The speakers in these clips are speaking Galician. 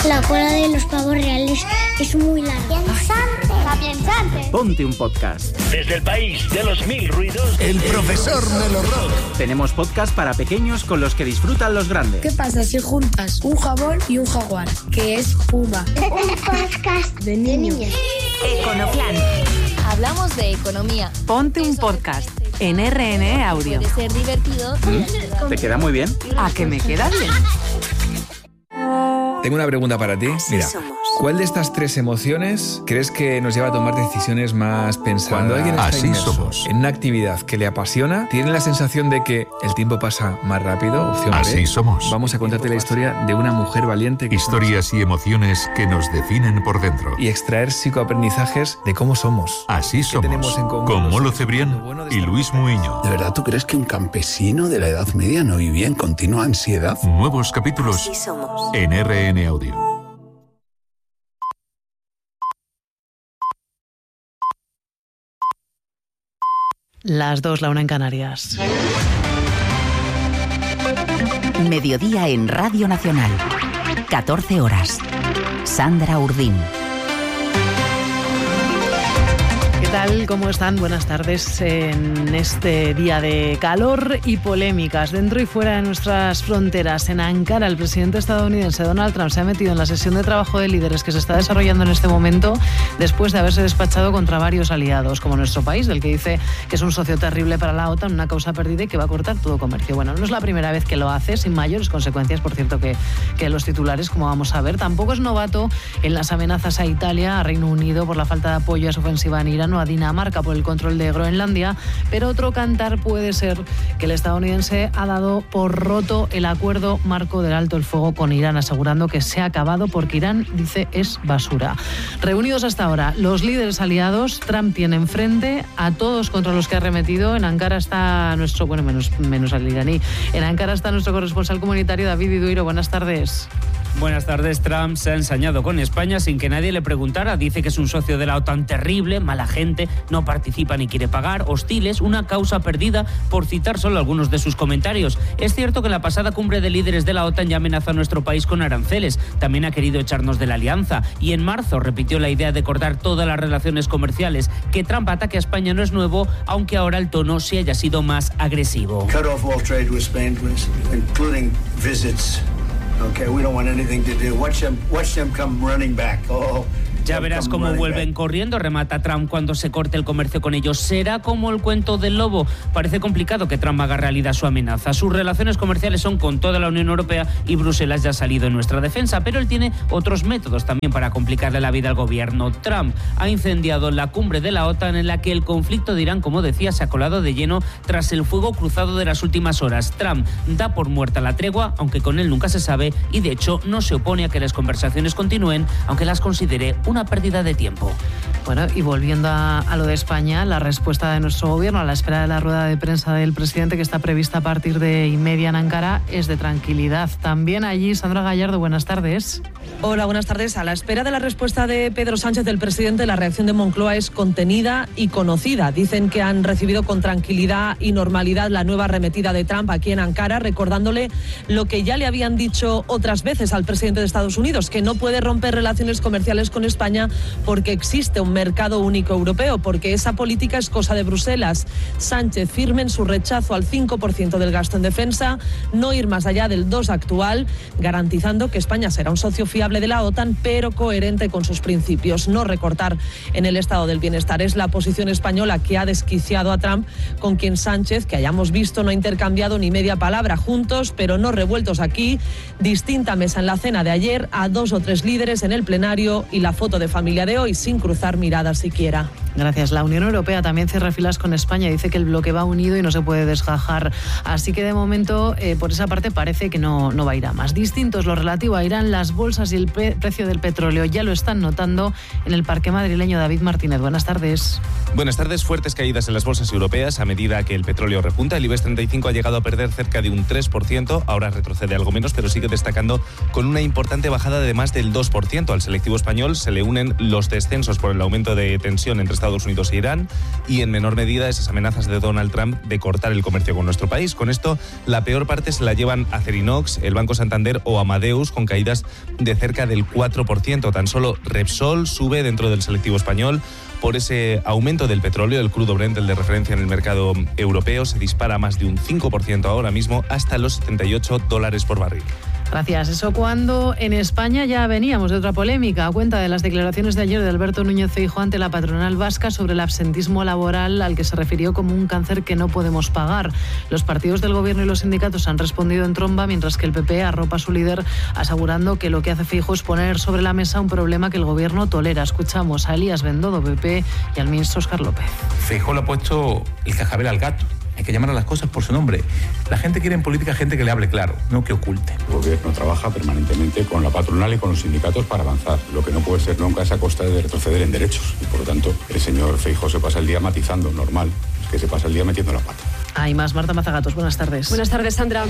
La cola de los pavos reales es muy larga. ¡Piensante! Ponte un podcast. Desde el país de los mil ruidos, el profesor Melo Rock. Tenemos podcast para pequeños con los que disfrutan los grandes. ¿Qué pasa si juntas un jabón y un jaguar? Que es Puma. Un podcast de niños. Econoplan. Hablamos de economía. Ponte un podcast en RN Audio. Puede ser divertido. ¿Te queda muy bien? ¿A que me queda bien? Tengo una pregunta para ti. Mira, ¿cuál de estas tres emociones crees que nos lleva a tomar decisiones más pensadas? Cuando alguien está inmerso en una actividad que le apasiona, ¿tiene la sensación de que el tiempo pasa más rápido? Opción B. Así somos. Vamos a contarte la historia de una mujer valiente. Historias y emociones que nos definen por dentro. Y extraer psicoaprendizajes de cómo somos. Así somos. Con Molo Cebrián y Luis Muiño. ¿De verdad tú crees que un campesino de la Edad Media no vivía en continua ansiedad? Nuevos capítulos en RN Audio. Las 2, la 1 en Canarias. Mediodía en Radio Nacional. 14 horas. Sandra Urdín. ¿Qué tal? ¿Cómo están? Buenas tardes en este día de calor y polémicas dentro y fuera de nuestras fronteras. En Ankara, el presidente estadounidense Donald Trump se ha metido en la sesión de trabajo de líderes que se está desarrollando en este momento después de haberse despachado contra varios aliados, como nuestro país, del que dice que es un socio terrible para la OTAN, una causa perdida y que va a cortar todo comercio. Bueno, no es la primera vez que lo hace, sin mayores consecuencias, por cierto, que los titulares, como vamos a ver. Tampoco es novato en las amenazas a Italia, a Reino Unido por la falta de apoyo a su ofensiva en Irán, o a Dinamarca por el control de Groenlandia, pero otro cantar puede ser que el estadounidense ha dado por roto el acuerdo marco del alto el fuego con Irán, asegurando que se ha acabado porque Irán, dice, es basura. Reunidos hasta ahora los líderes aliados, Trump tiene enfrente a todos contra los que ha arremetido. En Ankara está nuestro, bueno, menos al iraní, en Ankara está nuestro corresponsal comunitario David Iduiro. Buenas tardes. Buenas tardes. Trump se ha ensañado con España sin que nadie le preguntara. Dice que es un socio de la OTAN terrible, mala gente, no participa ni quiere pagar, hostiles, una causa perdida, por citar solo algunos de sus comentarios. Es cierto que en la pasada cumbre de líderes de la OTAN ya amenazó a nuestro país con aranceles. También ha querido echarnos de la alianza. Y en marzo repitió la idea de cortar todas las relaciones comerciales. Que Trump ataque a España no es nuevo, aunque ahora el tono sí haya sido más agresivo. Cut off all trade with Spain, please, including visits. Okay, we don't want anything to do. Watch them come running back. Ya verás cómo vuelven corriendo, remata Trump cuando se corte el comercio con ellos. Será como el cuento del lobo. Parece complicado que Trump haga realidad su amenaza. Sus relaciones comerciales son con toda la Unión Europea y Bruselas ya ha salido en nuestra defensa, pero él tiene otros métodos también para complicarle la vida al gobierno. Trump ha incendiado la cumbre de la OTAN, en la que el conflicto de Irán, como decía, se ha colado de lleno tras el fuego cruzado de las últimas horas. Trump da por muerta la tregua, aunque con él nunca se sabe, y de hecho no se opone a que las conversaciones continúen, aunque las considere una pérdida de tiempo. Bueno, y volviendo a lo de España, la respuesta de nuestro gobierno a la espera de la rueda de prensa del presidente, que está prevista a partir de 1:30 en Ankara, es de tranquilidad. También allí, Sandra Gallardo, buenas tardes. Hola, buenas tardes. A la espera de la respuesta de Pedro Sánchez, del presidente, la reacción de Moncloa es contenida y conocida. Dicen que han recibido con tranquilidad y normalidad la nueva arremetida de Trump aquí en Ankara, recordándole lo que ya le habían dicho otras veces al presidente de Estados Unidos, que no puede romper relaciones comerciales con España porque existe un mercado único europeo, porque esa política es cosa de Bruselas. Sánchez firme en su rechazo al 5% del gasto en defensa, no ir más allá del 2% actual, garantizando que España será un socio fiable de la OTAN, pero coherente con sus principios. No recortar en el estado del bienestar. Es la posición española que ha desquiciado a Trump, con quien Sánchez, que hayamos visto, no ha intercambiado ni media palabra, juntos pero no revueltos aquí. Distinta mesa en la cena de ayer, a 2 o 3 líderes en el plenario y la foto de familia de hoy sin cruzar miradas siquiera. Gracias. La Unión Europea también cierra filas con España. Dice que el bloque va unido y no se puede desgajar. Así que de momento, por esa parte, parece que no va a ir a más. Distinto es lo relativo a Irán. Las bolsas y el precio del petróleo ya lo están notando en el parque madrileño. David Martínez, buenas tardes. Buenas tardes. Fuertes caídas en las bolsas europeas a medida que el petróleo repunta. El IBEX 35 ha llegado a perder cerca de un 3%. Ahora retrocede algo menos, pero sigue destacando con una importante bajada de más del 2%. Al selectivo español se le unen los descensos por el aumento de tensión entre Estados Estados Unidos e Irán, y en menor medida esas amenazas de Donald Trump de cortar el comercio con nuestro país. Con esto, la peor parte se la llevan Acerinox, el Banco Santander o Amadeus, con caídas de cerca del 4%. Tan solo Repsol sube dentro del selectivo español por ese aumento del petróleo. El crudo Brent, el de referencia en el mercado europeo, se dispara más de un 5% ahora mismo, hasta los $78 por barril. Gracias. Eso cuando en España ya veníamos de otra polémica, a cuenta de las declaraciones de ayer de Alberto Núñez Feijóo ante la patronal vasca sobre el absentismo laboral, al que se refirió como un cáncer que no podemos pagar. Los partidos del gobierno y los sindicatos han respondido en tromba, mientras que el PP arropa a su líder asegurando que lo que hace Feijóo es poner sobre la mesa un problema que el gobierno tolera. Escuchamos a Elías Bendodo, PP, y al ministro Óscar López. Feijóo le ha puesto el cascabel al gato. Hay que llamar a las cosas por su nombre. La gente quiere en política gente que le hable claro, no que oculte. El gobierno trabaja permanentemente con la patronal y con los sindicatos para avanzar. Lo que no puede ser nunca es a costa de retroceder en derechos. Y por lo tanto, el señor Feijóo se pasa el día matizando, normal. Es que se pasa el día metiendo la pata. Hay más. Marta Mazagatos, buenas tardes. Buenas tardes, Sandra.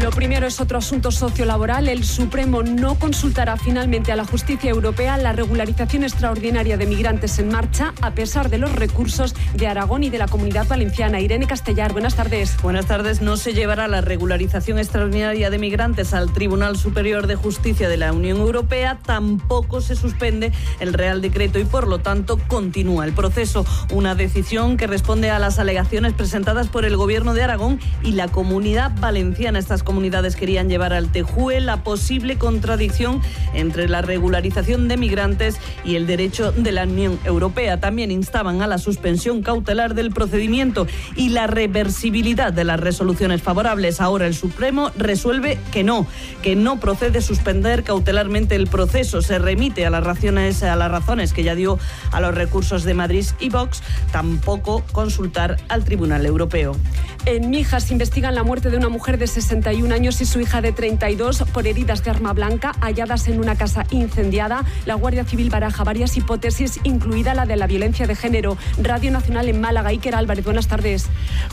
Lo primero es otro asunto sociolaboral. El Supremo no consultará finalmente a la justicia europea la regularización extraordinaria de migrantes en marcha, a pesar de los recursos de Aragón y de la Comunidad Valenciana. Irene Castellar, buenas tardes. Buenas tardes. No se llevará la regularización extraordinaria de migrantes al Tribunal Superior de Justicia de la Unión Europea. Tampoco se suspende el Real Decreto y, por lo tanto, continúa el proceso. Una decisión que responde a las alegaciones presentadas por el Gobierno de Aragón y la Comunidad Valenciana. Estas comunidades querían llevar al TJUE la posible contradicción entre la regularización de migrantes y el derecho de la Unión Europea. También instaban a la suspensión cautelar del procedimiento y la reversibilidad de las resoluciones favorables. Ahora el Supremo resuelve que no procede suspender cautelarmente el proceso. Se remite a las razones que ya dio a los recursos de Madrid y Vox, tampoco consultar al Tribunal Europeo. En Mijas investigan la muerte de una mujer de 61 años y su hija de 32 por heridas de arma blanca halladas en una casa incendiada. La Guardia Civil baraja varias hipótesis, incluida la de la violencia de género. Radio Nacional en Málaga. Iker Álvarez, buenas tardes.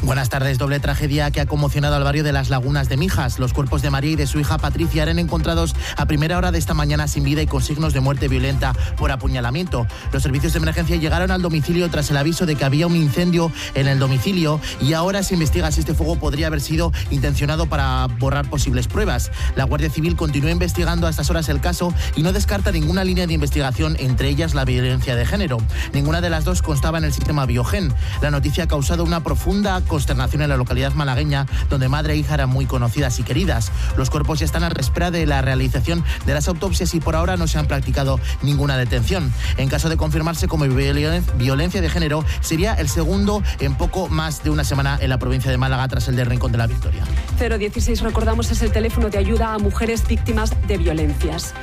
Buenas tardes. Doble tragedia que ha conmocionado al barrio de Las Lagunas de Mijas. Los cuerpos de María y de su hija Patricia eran encontrados a primera hora de esta mañana sin vida y con signos de muerte violenta por apuñalamiento. Los servicios de emergencia llegaron al domicilio tras el aviso de que había un incendio en el domicilio y ahora se investiga si este fuego podría haber sido intencionado para borrar posibles pruebas. La Guardia Civil continúa investigando a estas horas el caso y no descarta ninguna línea de investigación, entre ellas la violencia de género. Ninguna de las dos constaba en el sistema Biogen. La noticia ha causado una profunda consternación en la localidad malagueña, donde madre e hija eran muy conocidas y queridas. Los cuerpos ya están a la espera de la realización de las autopsias y por ahora no se han practicado ninguna detención. En caso de confirmarse como violencia de género, sería el segundo en poco más de una semana en la provincia de Málaga, tras el de Rincón de la Victoria. 016, recordamos, es el teléfono de ayuda a mujeres víctimas de violencias.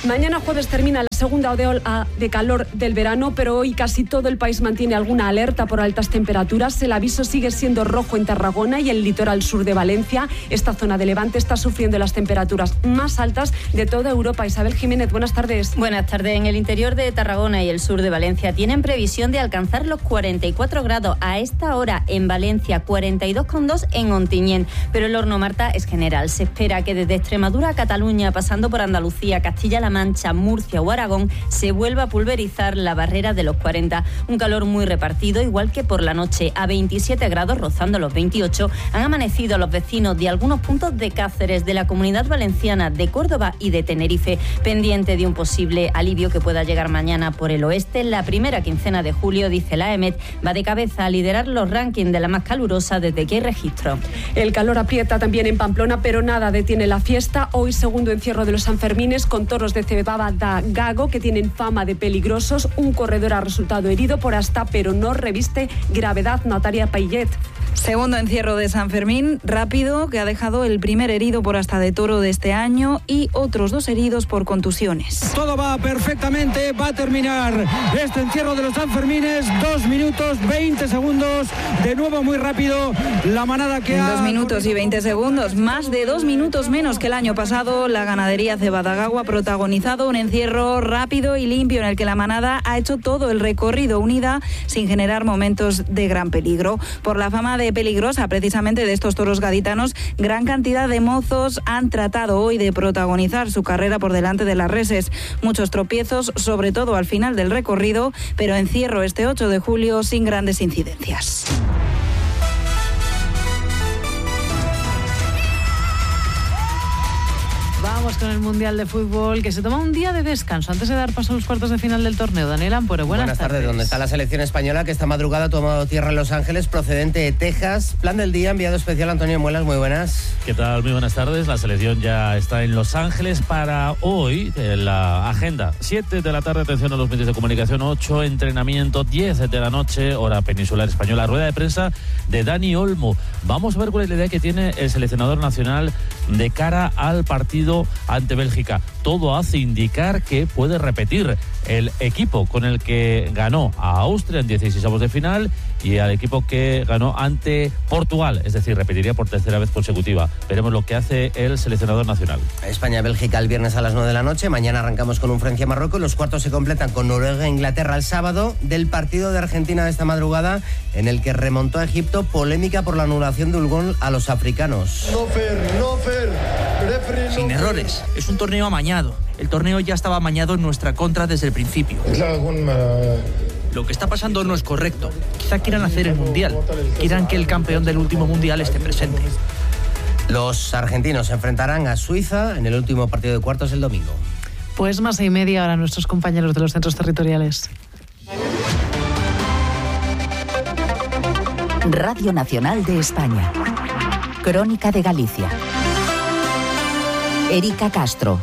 Mañana jueves termina la segunda ola de calor del verano, pero hoy casi todo el país mantiene alguna alerta por altas temperaturas. El aviso sigue siendo rojo en Tarragona y el litoral sur de Valencia. Esta zona de Levante está sufriendo las temperaturas más altas de toda Europa. Isabel Jiménez, buenas tardes. Buenas tardes. En el interior de Tarragona y el sur de Valencia tienen previsión de alcanzar los 44 grados. A esta hora en Valencia, 42,2 en Ontinyent. Pero el horno, Marta, es general. Se espera que desde Extremadura a Cataluña, pasando por Andalucía, Castilla-La Mancha, Murcia o Aragón, se vuelva a pulverizar la barrera de los 40. Un calor muy repartido, igual que por la noche. A 27 grados, rozando los 28, han amanecido los vecinos de algunos puntos de Cáceres, de la Comunidad Valenciana, de Córdoba y de Tenerife, pendiente de un posible alivio que pueda llegar mañana por el oeste. La primera quincena de julio, dice la EMET, va de cabeza a liderar los rankings de la más calurosa desde que hay registro. El calor aprieta también en Pamplona, pero nada detiene la fiesta. Hoy, segundo encierro de los Sanfermines, con toros de cebada Gago que tienen fama de peligrosos. Un corredor ha resultado herido por asta, pero no reviste gravedad. Natalia Payet. Segundo encierro de San Fermín, rápido, que ha dejado el primer herido por asta de toro de este año y otros 2 heridos por contusiones. Todo va perfectamente, va a terminar este encierro de los Sanfermines, 2 minutos 20 segundos, de nuevo muy rápido, la manada que en 2 minutos y 20 segundos, más de 2 minutos menos que el año pasado, la ganadería Cebada-Gago ha protagonizado un encierro rápido y limpio en el que la manada ha hecho todo el recorrido unida sin generar momentos de gran peligro. Por la fama de tarde peligrosa precisamente de estos toros gaditanos. Gran cantidad de mozos han tratado hoy de protagonizar su carrera por delante de las reses. Muchos tropiezos, sobre todo al final del recorrido, pero encierro este 8 de julio sin grandes incidencias. Vamos con el Mundial de Fútbol, que se toma un día de descanso antes de dar paso a los cuartos de final del torneo. Daniel Ampuero, buenas tardes. ¿Dónde está la selección española que esta madrugada ha tomado tierra en Los Ángeles, procedente de Texas? Plan del día, enviado especial Antonio Muelas, muy buenas. ¿Qué tal? Muy buenas tardes. La selección ya está en Los Ángeles para hoy. La agenda, 7 de la tarde, atención a los medios de comunicación, 8, entrenamiento, 10 de la noche, hora peninsular española, rueda de prensa de Dani Olmo. Vamos a ver cuál es la idea que tiene el seleccionador nacional de cara al partido ante Bélgica. Todo hace indicar que puede repetir el equipo con el que ganó a Austria en 16avos de final y al equipo que ganó ante Portugal, es decir, repetiría por tercera vez consecutiva. Veremos lo que hace el seleccionador nacional. España-Bélgica el viernes a las 9 de la noche, mañana arrancamos con un Francia-Marruecos, los cuartos se completan con Noruega-Inglaterra el sábado, del partido de Argentina de esta madrugada en el que remontó a Egipto, polémica por la anulación de un gol a los africanos. No fair. Sin errores, es un torneo amañado. El torneo ya estaba amañado en nuestra contra desde el principio. Lo que está pasando no es correcto. Quizá quieran hacer el Mundial. Quieran que el campeón del último Mundial esté presente. Los argentinos se enfrentarán a Suiza en el último partido de cuartos el domingo. Pues más 6:30 ahora nuestros compañeros de los centros territoriales. Radio Nacional de España. Crónica de Galicia. Erika Castro.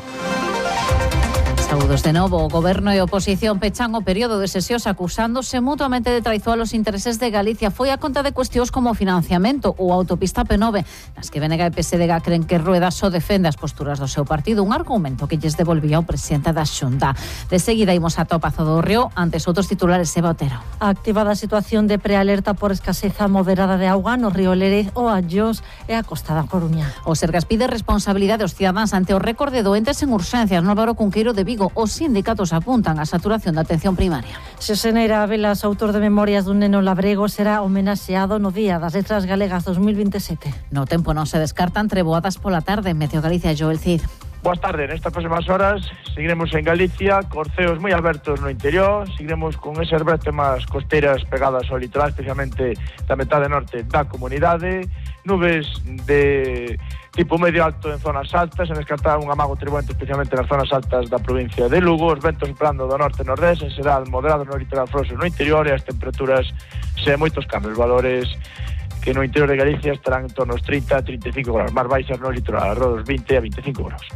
Saúdos de novo. O Goberno e oposición pechan o período de sesións acusándose mutuamente de traizoar os intereses de Galicia. Foi a conta de cuestións como o financiamento ou a autopista P9, nas que BNG e PSDG creen que Rueda só defende as posturas do seu partido, un argumento que lles devolvía o presidente da Xunta. De seguida imos a Pazo do Río, antes outros titulares, Eva Otero. Activada a situación de prealerta por escaseza moderada de auga no río Lérez, o Allós e a Costa da Coruña. O Sergas pide responsabilidade aos cidadáns ante o récord de doentes en urxencias no Álvaro Cunqueiro de Vigo. Os sindicatos apuntan á saturación da atención primaria. Xosé Velas, autor de Memorias dun neno labrego, será homenaxeado no Día das Letras Galegas 2027. No tempo non se descartan treboadas pola tarde en Meteo Galicia. Joel Cid. Boas tardes, nestas próximas horas seguiremos en Galicia, corceos moi abertos no interior, seguiremos con esas bretemas costeras pegadas ao litoral, especialmente da metade norte da comunidade, nubes de tipo medio alto en zonas altas, en descartar un amago tribuente especialmente nas zonas altas da provincia de Lugo, os ventos soprando do norte e nordeste, en xeral moderados no litoral froso no interior, e as temperaturas sen moitos cambios, valores que no interior de Galicia estarán en torno aos 30 a 35 graus, máis baixas no litoral, alrededor dos 20 a 25 graus.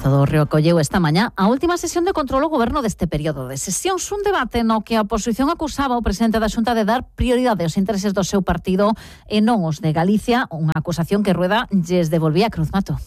Do Río acolleu esta mañá a última sesión de control ao goberno deste período de sesións, un debate no que a oposición acusaba o presidente da Xunta de dar prioridade aos intereses do seu partido e non os de Galicia, unha acusación que Rueda lles devolvía a Cruz Mato.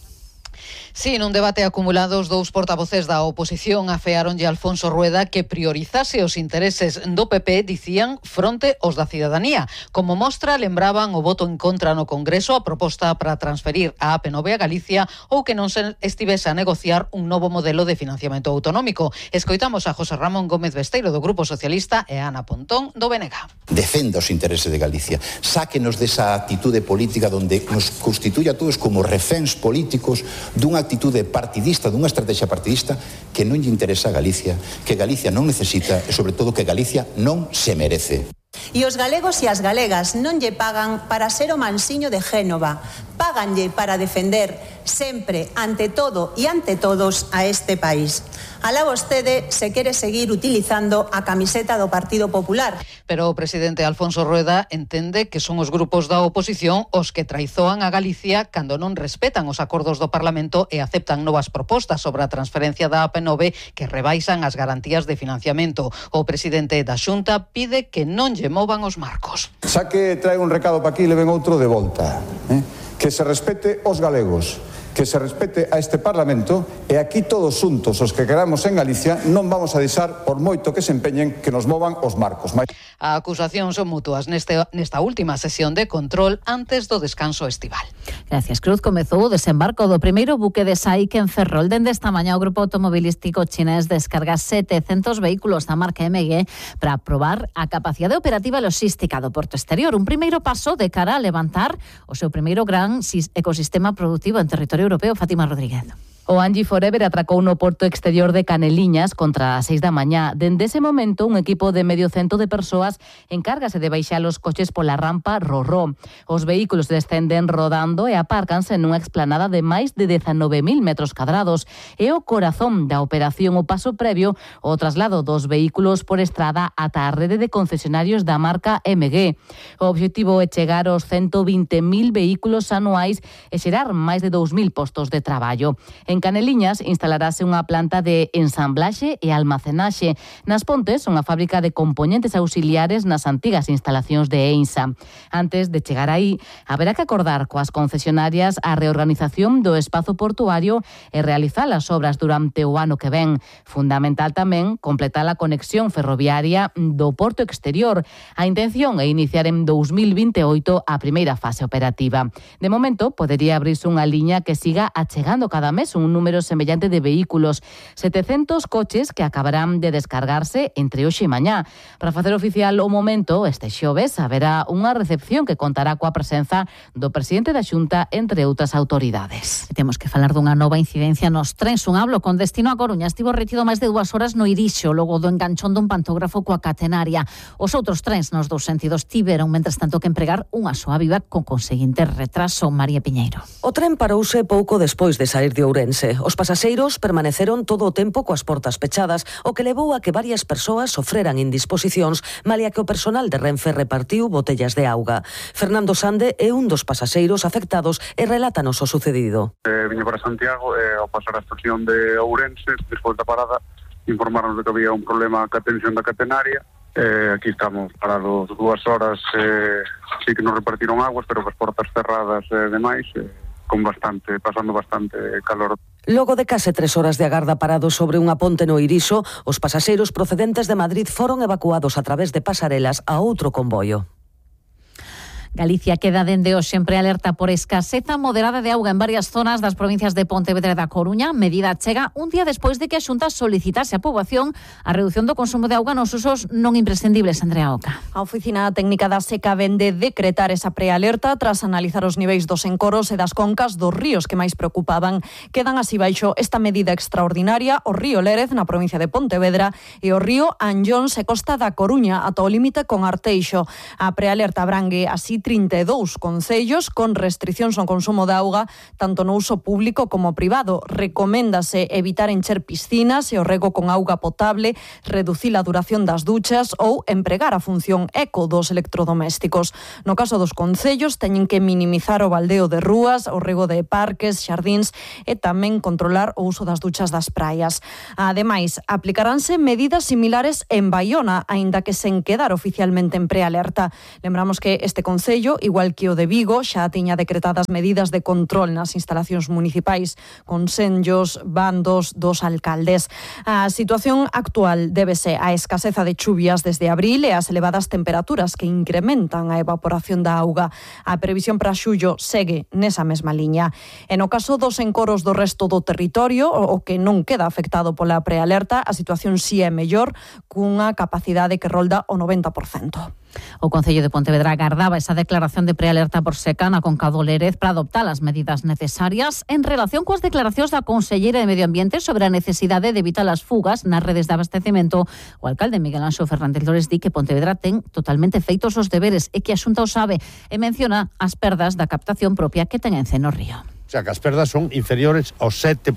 Sí, nun debate acumulado, os dous portavoces da oposición afearonlle a Alfonso Rueda que priorizase os intereses do PP, dicían, fronte aos da cidadanía. Como mostra, lembraban o voto en contra no Congreso a proposta para transferir a AP9 a Galicia ou que non se estivese a negociar un novo modelo de financiamento autonómico. Escoitamos a José Ramón Gómez Besteiro do Grupo Socialista e a Ana Pontón do BNG. Defenda os intereses de Galicia. Sáquenos desa actitude política donde nos constituye a todos como reféns políticos dunha actitude partidista, dunha estrategia partidista que non lle interesa a Galicia, que Galicia non necesita e, sobre todo, que Galicia non se merece. E os galegos e as galegas non lle pagan para ser o mansiño de Génova, páganlle para defender sempre, ante todo e ante todos, a este país. Alá vostede se quere seguir utilizando a camiseta do Partido Popular. Pero o presidente Alfonso Rueda entende que son os grupos da oposición os que traizoan a Galicia cando non respetan os acordos do Parlamento e aceptan novas propostas sobre a transferencia da AP9 que rebaixan as garantías de financiamento. O presidente da Xunta pide que non lle movan os marcos. Xa que trae un recado para aquí, le ven outro de volta, que se respete os galegos, que se respete a este Parlamento e aquí todos xuntos os que queramos en Galicia non vamos a deixar, por moito que se empeñen, que nos movan os marcos. A acusación son mutuas nesta última sesión de control antes do descanso estival. Gracias, Cruz. Comezou o desembarco do primeiro buque de SAIC en Ferrol. Dende esta mañá o grupo automobilístico chinés descarga 700 vehículos da marca MG para probar a capacidade operativa e logística do porto exterior. Un primeiro paso de cara a levantar o seu primeiro gran ecosistema productivo en territorio europeo. Fátima Rodríguez. O Angie Forever atracou no porto exterior de Caneliñas contra as 6 da mañá. Dende ese momento, un equipo de medio cento de persoas encárgase de baixar os coches pola rampa Rorró. Os vehículos descenden rodando e apárcanse nunha explanada de máis de 19.000 metros cadrados. É o corazón da operación, o paso previo o traslado dos vehículos por estrada ata a rede de concesionarios da marca MG. O obxectivo é chegar aos 120.000 vehículos anuais e xerar máis de 2.000 postos de traballo. En Caneliñas instalarase unha planta de ensamblaxe e almacenaxe. Nas Pontes, unha fábrica de componentes auxiliares nas antigas instalacións de EINSA. Antes de chegar aí, haberá que acordar coas concesionarias a reorganización do espazo portuario e realizar as obras durante o ano que ven. Fundamental tamén completar a conexión ferroviaria do porto exterior. A intención é iniciar en 2028 a primeira fase operativa. De momento, podería abrirse unha liña que siga achegando cada mes un número semellante de vehículos, 700 coches que acabarán de descargarse entre hoxe e mañá. Para facer oficial o momento, este xoves haberá unha recepción que contará coa presenza do presidente da Xunta, entre outras autoridades. Temos que falar dunha nova incidencia nos trens. Un hablo con destino a Coruña estivo retido máis de 2 horas no Irixo, logo do enganchón dun pantógrafo coa catenaria. Os outros trens nos dous sentidos tiveron, mentres tanto, que empregar unha soa viva con conseguinte retraso. María Piñeiro. O tren parouse pouco despois de sair de Ourense. Os pasaxeiros permaneceron todo o tempo coas portas pechadas, o que levou a que varias persoas sofreran indisposicións, malia que o personal de Renfe repartiu botellas de auga. Fernando Sande é un dos pasaxeiros afectados e relátanos o sucedido. Viña para Santiago e ao pasar a estación de Ourense, despois da parada, informaron de que había un problema ca tensión da catenaria. Aquí estamos parados 2 horas, sí que nos repartiron aguas, pero as portas cerradas e demais, pasando bastante calor. Logo de case 3 horas de agarda parados sobre unha ponte no Irixo, os pasaxeiros procedentes de Madrid foron evacuados a través de pasarelas a outro convoio. Galicia queda dende hoxe en prealerta por escaseza moderada de auga en varias zonas das provincias de Pontevedra e da Coruña. Medida chega un día despois de que a Xunta solicitase á poboación a redución do consumo de auga nos usos non imprescindibles. Andrea Oca. A Oficina Técnica da Seca vende decretar esa prealerta tras analizar os niveis dos encoros e das concas dos ríos que máis preocupaban. Quedan así baixo esta medida extraordinaria o río Lérez na provincia de Pontevedra e o río Anllóns e Costa da Coruña ata o límite con Arteixo. A prealerta abrangue así 32 concellos con restricións ao consumo de auga tanto no uso público como privado. Recoméndase evitar encher piscinas e o rego con auga potable, reducir a duración das duchas ou empregar a función eco dos electrodomésticos. No caso dos concellos, teñen que minimizar o baldeo de rúas, o rego de parques, xardíns e tamén controlar o uso das duchas das praias. Ademais, aplicaránse medidas similares en Baiona, aínda que sen quedar oficialmente en prealerta. Lembramos que este concello, igual que o de Vigo, xa tiña decretadas medidas de control nas instalacións municipais, con senllos, bandos dos alcaldes. A situación actual débese á escaseza de chuvias desde abril e ás elevadas temperaturas que incrementan a evaporación da auga. A previsión para xullo segue nesa mesma liña. E no caso dos encoros do resto do territorio, o que non queda afectado pola prealerta, a situación si é mellor, cunha capacidade que rolda o 90%. O Concello de Pontevedra agardaba esa declaración de prealerta por seca na conca do Lérez para adoptar as medidas necesarias en relación coas declaracións da Conselleira de Medio Ambiente sobre a necesidade de evitar as fugas nas redes de abastecemento. O alcalde Miguel Anxo Fernández Lores di que Pontevedra ten totalmente feitos os deberes e que a Xunta o sabe e menciona as perdas da captación propia que ten en Ceno Río. O sea, que as perdas son inferiores ao 7%,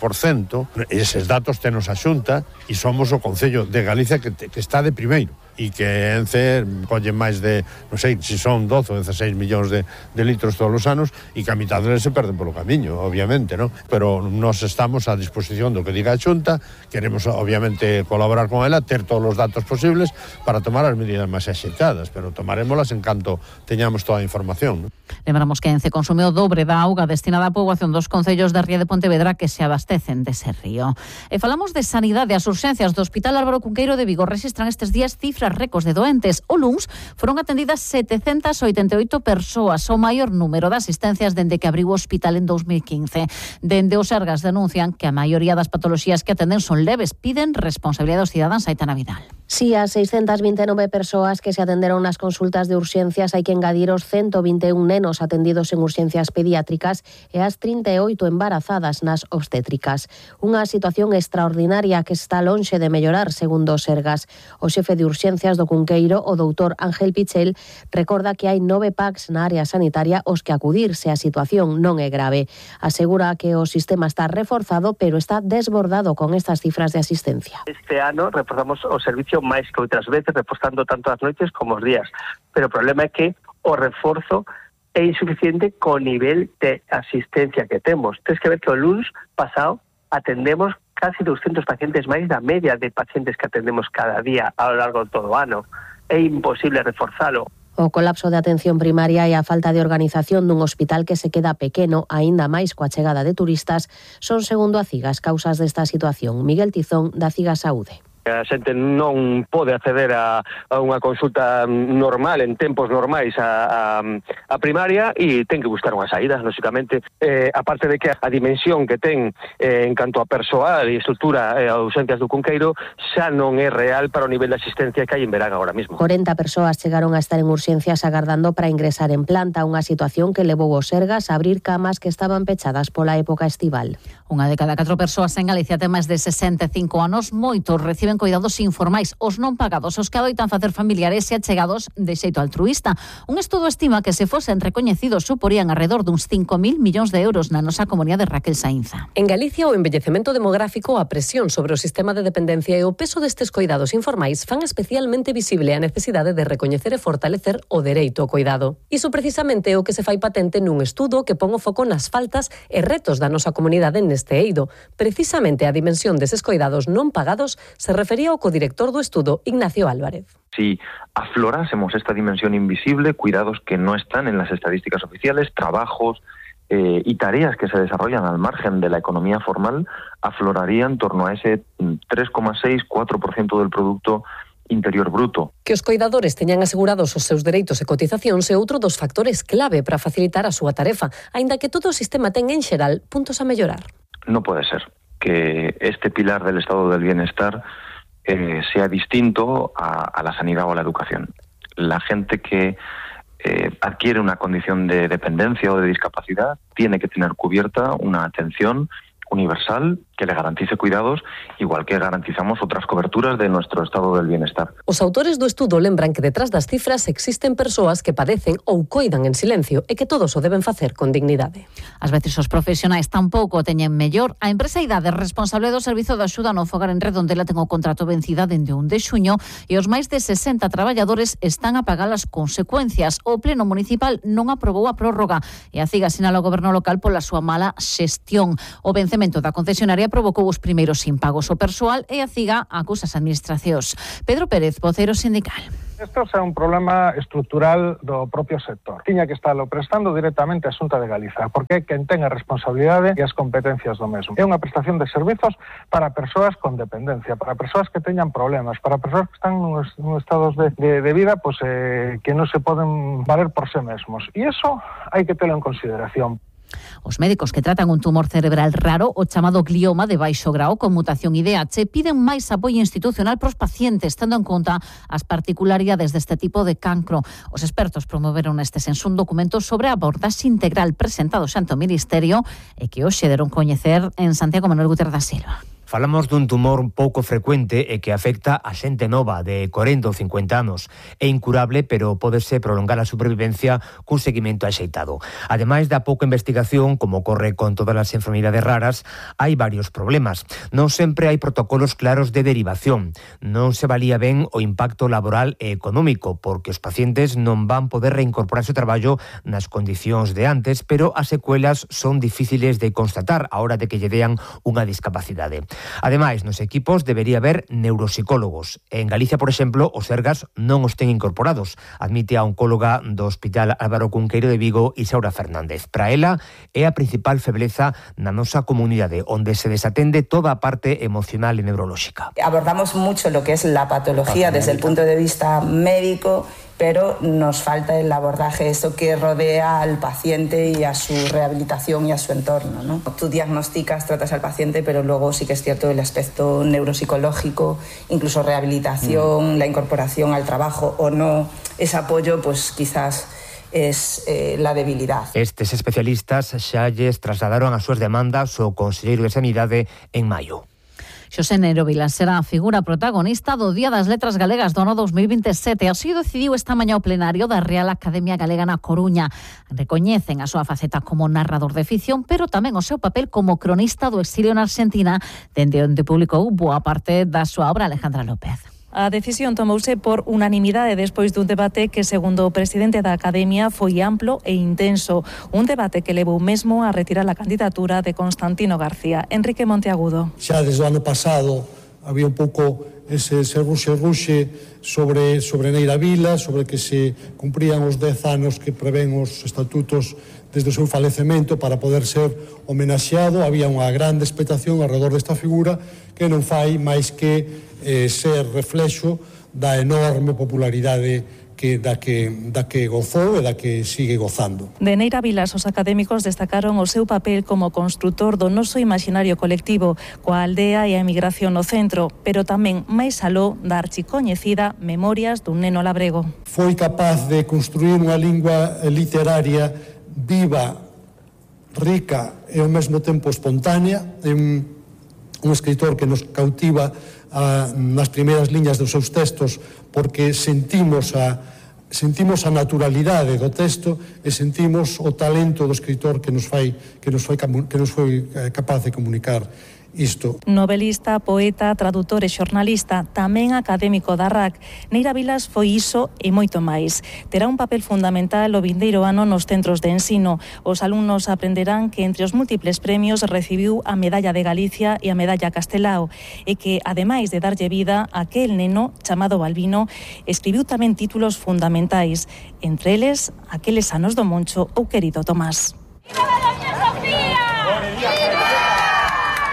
eses datos tenos a Xunta e somos o Concello de Galicia que está de primeiro. e que Ence colle máis de, non sei se son 12 ou 16 millóns de litros todos os anos e que a mitad deles se perden polo camiño, obviamente, non? Pero nós estamos a disposición do que diga a Xunta, queremos obviamente colaborar con ela, ter todos os datos posibles para tomar as medidas máis axeitadas, pero tomarémolas en canto teñamos toda a información, non? Lembramos que Ence consume o dobre da auga destinada á poboación dos concellos da Ría de Pontevedra que se abastecen dese río. E falamos de sanidade. As urxencias do Hospital Álvaro Cunqueiro de Vigo rexistran estes días cifras récords de doentes. O luns foron atendidas 788 persoas, o maior número de asistencias dende que abriu o hospital en 2015. Dende o Sergas denuncian que a maioría das patoloxías que atenden son leves. Piden responsabilidade dos cidadáns. Aitana Vidal. Si as 629 persoas que se atenderon nas consultas de urxencias hai que engadir os 121 nenos atendidos en urxencias pediátricas e as 38 embarazadas nas obstétricas. Unha situación extraordinaria que está lonxe de mellorar, segundo o Sergas. O xefe de urxencias do Cunqueiro, o doutor Ángel Pichel, recorda que hai 9 PACs na área sanitaria os que acudir se a situación non é grave. Asegura que o sistema está reforzado, pero está desbordado con estas cifras de asistencia. Este ano reforzamos o servicio máis que outras veces, reforzando tanto as noites como os días. Pero o problema é que o reforzo é insuficiente co nivel de asistencia que temos. Tens que ver que o luns pasado atendemos casi 200 pacientes máis da media de pacientes que atendemos cada día a lo largo de todo o ano. É imposible reforzalo. O colapso de atención primaria e a falta de organización dun hospital que se queda pequeno, aínda máis coa chegada de turistas, son, segundo a CIGAS, causas desta situación. Miguel Tizón, da CIGAS Saúde. A xente non pode acceder a unha consulta normal, en tempos normais, a primaria, e ten que buscar unha saída, lógicamente. Aparte de que a dimensión que ten en canto a persoal e estrutura a urxencias do Cunqueiro xa non é real para o nivel de asistencia que hai en verán agora mesmo. 40 persoas chegaron a estar en urxencias agardando para ingresar en planta, unha situación que levou os Sergas a abrir camas que estaban pechadas pola época estival. Unha de cada 4 persoas en Galicia ten máis de 65 anos, moitos reciben cuidados informais, os non pagados, os que adoitan facer familiares e achegados de xeito altruísta. Un estudo estima que se fosen recoñecidos suporían alrededor duns 5.000 millóns de euros na nosa comunidade. Raquel Sainza. En Galicia, o envellecemento demográfico, a presión sobre o sistema de dependencia e o peso destes cuidados informais fan especialmente visible a necesidade de recoñecer e fortalecer o dereito ao cuidado. Iso precisamente é o que se fai patente nun estudo que pon o foco nas faltas e retos da nosa comunidade neste eido. Precisamente a dimensión deses cuidados non pagados se refería ao codirector do estudo, Ignacio Álvarez. Si aflorásemos esta dimensión invisible, cuidados que no están en las estadísticas oficiales, trabajos y tareas que se desarrollan al margen de la economía formal, afloraría en torno a ese 3,6-4% del Producto Interior Bruto. Que os coidadores teñan asegurados os seus dereitos e cotizacións é outro dos factores clave para facilitar a súa tarefa, aínda que todo o sistema ten en xeral puntos a mellorar. No puede ser que este pilar del estado del bienestar sea distinto a la sanidad o a la educación. La gente que adquiere una condición de dependencia o de discapacidad tiene que tener cubierta una atención universal que le garantice cuidados, igual que garantizamos otras coberturas de nuestro estado del bienestar. Os autores do estudo lembran que detrás das cifras existen persoas que padecen ou coidan en silencio e que todos o deben facer con dignidade. Ás veces os profesionais tampouco teñen mellor. A empresa Idade, responsable do servizo de axuda no fogar en Redondela, ten o contrato vencida dende 1 de xuño e os máis de 60 traballadores están a pagar as consecuencias. O Pleno Municipal non aprobou a prórroga e a CIGA sinala o goberno local pola súa mala xestión. O vencemento da concesionaria provocou os primeiros impagos. O persoal e a CIGA acusa as administracións. Pedro Pérez, voceiro sindical. Isto é un problema estrutural do propio sector. Tiña que estarlo prestando directamente a Xunta de Galiza, porque é quen ten a responsabilidade e as competencias do mesmo. É unha prestación de servizos para persoas con dependencia, para persoas que teñan problemas, para persoas que están nun estados de vida que non se poden valer por sí mesmos. E iso hai que telo en consideración. Os médicos que tratan un tumor cerebral raro, o chamado glioma de baixo grao con mutación IDH, piden máis apoio institucional para os pacientes, tendo en conta as particularidades deste tipo de cancro. Os expertos promoveron neste senso un documento sobre a abordaxe integral presentado xante o Ministerio e que hoxe deron coñecer en Santiago Manuel Guterres da Silva. Falamos dun tumor pouco frecuente e que afecta a xente nova de 40 ou 50 anos. É incurable, pero pódese prolongar a supervivencia cun seguimento axeitado. Ademais da pouca investigación, como ocorre con todas as enfermidades raras, hai varios problemas. Non sempre hai protocolos claros de derivación. Non se valía ben o impacto laboral e económico, porque os pacientes non van poder reincorporarse ao traballo nas condicións de antes, pero as secuelas son difíciles de constatar a hora de que lle dean unha discapacidade. Ademais, nos equipos debería haber neuropsicólogos. En Galicia, por exemplo, os Sergas non os ten incorporados, admite a oncóloga do Hospital Álvaro Cunqueiro de Vigo, Isaura Fernández. Para ela, é a principal febleza na nosa comunidade, onde se desatende toda a parte emocional e neurolóxica. Abordamos mucho lo que es la patología desde el punto de vista médico, pero nos falta el abordaje, eso que rodea al paciente y a su rehabilitación y a su entorno, ¿no? Tú diagnosticas, tratas al paciente, pero luego sí que es cierto el aspecto neuropsicológico, incluso rehabilitación, la incorporación al trabajo o no, ese apoyo, pues quizás es la debilidad. Estes especialistas xa lles trasladaron as súas demandas ao Conselleiro de Sanidade en maio. Xosé Nero Vilas será a figura protagonista do Día das Letras Galegas do ano 2027. Así decidiu esta mañá o plenario da Real Academia Galega na Coruña. Recoñecen a súa faceta como narrador de ficción, pero tamén o seu papel como cronista do exilio na Argentina, dende onde publicou boa parte da súa obra. Alejandra López. A decisión tomouse por unanimidade despois dun debate que, segundo o presidente da Academia, foi amplo e intenso. Un debate que levou mesmo a retirar a candidatura de Constantino García. Enrique Monteagudo. Xa desde o ano pasado había un pouco ese ruxe sobre Neira Vila, sobre que se cumprían os 10 anos que prevén os estatutos desde o seu falecemento para poder ser homenaxeado. Había unha grande expectación alrededor desta figura que non fai máis que ser reflexo da enorme popularidade da que gozou e da que sigue gozando. De Neira Vilas, os académicos destacaron o seu papel como construtor do noso imaginario colectivo, coa aldea e a emigración no centro, pero tamén máis aló da archicoñecida Memorias dun neno labrego. Foi capaz de construir unha lingua literaria viva, rica e ao mesmo tempo espontánea. É un escritor que nos cautiva nas primeiras liñas dos seus textos, porque sentimos a naturalidade do texto e sentimos o talento do escritor que nos foi capaz de comunicar isto. Novelista, poeta, tradutor e xornalista, tamén académico da RAC, Neira Vilas foi iso e moito máis. Terá un papel fundamental o vindeiro ano nos centros de ensino. Os alumnos aprenderán que entre os múltiples premios recibiu a Medalla de Galicia e a Medalla Castelao, e que, ademais de darlle vida a aquel neno chamado Balbino, escribiu tamén títulos fundamentais, entre eles Aqueles anos do Moncho ou Querido Tomás.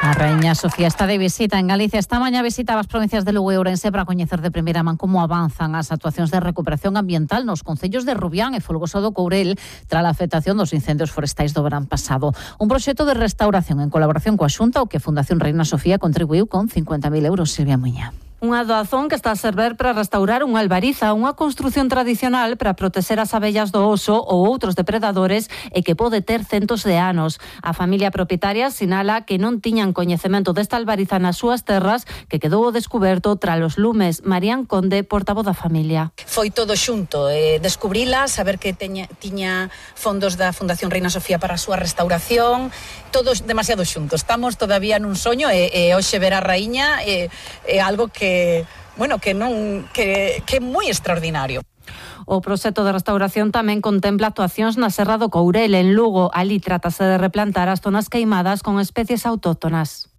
A Raíña Sofía está de visita en Galicia. Esta mañá visitaba as provincias de Lugo e Ourense para coñecer de primeira man como avanzan as actuacións de recuperación ambiental nos concellos de Rubián e Folgoso do Courel tras a afectación dos incendios forestais do verán pasado. Un proxecto de restauración en colaboración coa Xunta, o que Fundación Reina Sofía contribuiu con 50.000 euros. Silvia Muña. Unha doazón que está a servir para restaurar unha albariza, unha construción tradicional para protexer as abellas do oso ou outros depredadores e que pode ter centos de anos. A familia propietaria sinala que non tiñan coñecemento desta albariza nas súas terras, que quedou ao descuberto tras os lumes. Marían Conde, portavoz da familia. Foi todo xunto, descubrila, saber que tiña fondos da Fundación Reina Sofía para a súa restauración, todos demasiado xuntos. Estamos todavía nun soño e hoxe ver a raíña é algo que é moi extraordinario. O proxecto de restauración tamén contempla actuacións na Serra do Courel, en Lugo. Ali trátase de replantar as zonas queimadas con especies autóctonas.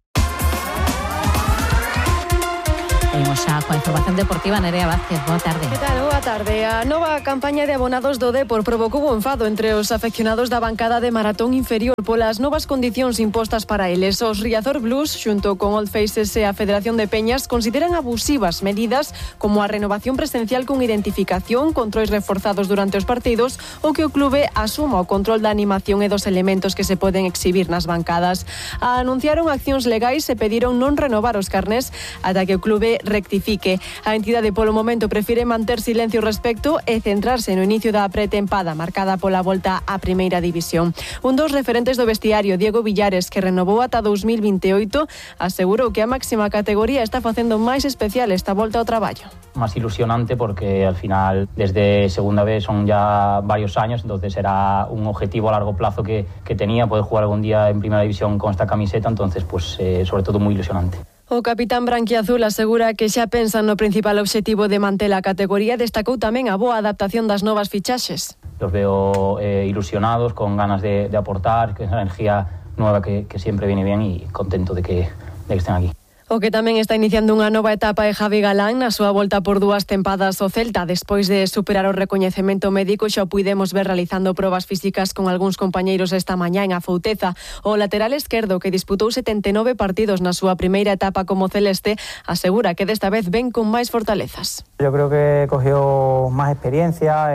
Seguimos xa coa información deportiva. Nerea Vázquez, boa tarde. Que tal? Boa tarde. A nova campaña de abonados do Depor provocou un enfado entre os afeccionados da bancada de maratón inferior polas novas condicións impostas para eles. Os Riazor Blues, xunto con Old Faces e a Federación de Peñas, consideran abusivas medidas como a renovación presencial con identificación, controis reforzados durante os partidos ou que o clube asuma o control da animación e dos elementos que se poden exhibir nas bancadas. Anunciaron accións legais e pediron non renovar os carnés ata que o clube rectifique. A entidade polo momento prefire manter silencio respecto e centrarse no inicio da pretempada marcada pola volta á primeira división. Un dos referentes do vestiario, Diego Villares, que renovou ata 2028, asegurou que a máxima categoría está facendo máis especial esta volta ao traballo. Más ilusionante porque al final desde segunda vez son ya varios años, entonces era un objetivo a largo plazo que tenía, poder jugar algún día en primera división con esta camiseta, entonces pues sobre todo muy ilusionante. O capitán branquiazul asegura que xa pensan no principal obxectivo de manter a categoría, destacou tamén a boa adaptación das novas fichaxes. Los veo ilusionados, con ganas de aportar, que es una energía nueva que siempre viene bien y contento de que estén aquí. O que tamén está iniciando unha nova etapa é Javi Galán na súa volta por 2 tempadas ao Celta. Despois de superar o recoñecemento médico, xa o puidemos ver realizando probas físicas con algúns compañeiros esta mañá en Afouteza. O lateral esquerdo, que disputou 79 partidos na súa primeira etapa como celeste, asegura que desta vez ven con máis fortalezas. Yo creo que cogió más experiencia,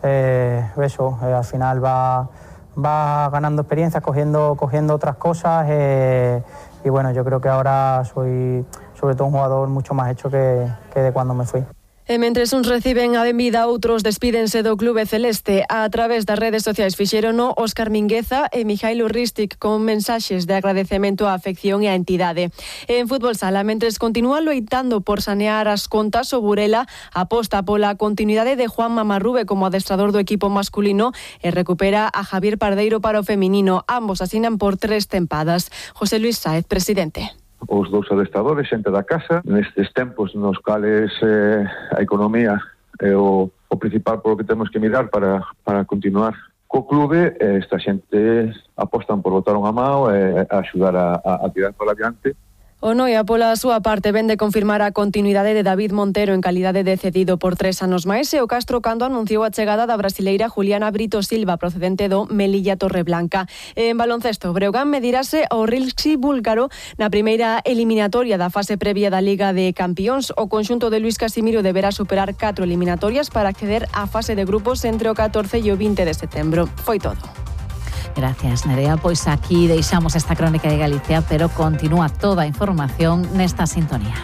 al final va ganando experiencia, cogiendo otras cosas. Y bueno, yo creo que ahora soy sobre todo un jugador mucho más hecho que de cuando me fui. E mentres uns reciben a benvida, outros despídense do clube celeste. A través das redes sociais fixérono Óscar Mingueza e Mijailo Ristic con mensaxes de agradecemento á afección e á entidade. En fútbol sala, mentres continúa loitando por sanear as contas, o Burela aposta pola continuidade de Juan Mamarrube como adestrador do equipo masculino e recupera a Javier Pardeiro para o feminino. Ambos asinan por 3 tempadas. José Luis Sáez, presidente. Os dous adestradores, xente da casa, nestes tempos nos cales a economía é o principal polo que temos que mirar para continuar co clube. Esta xente apostan por botar unha mão e axudar a tirar para adiante. O Noia, pola súa parte, vende confirmar a continuidade de David Montero en calidade de cedido por 3 anos máis, e o Castro Cando anunciou a chegada da brasileira Juliana Brito Silva, procedente do Melilla Torreblanca. En baloncesto, Breogán medirase ao Rilski búlgaro na primeira eliminatoria da fase previa da Liga de Campións. O conxunto de Luis Casimiro deberá superar 4 eliminatorias para acceder á fase de grupos entre o 14 e o 20 de setembro. Foi todo. Gracias, Nerea. Pois aquí deixamos esta crónica de Galicia, pero continúa toda a información nesta sintonía.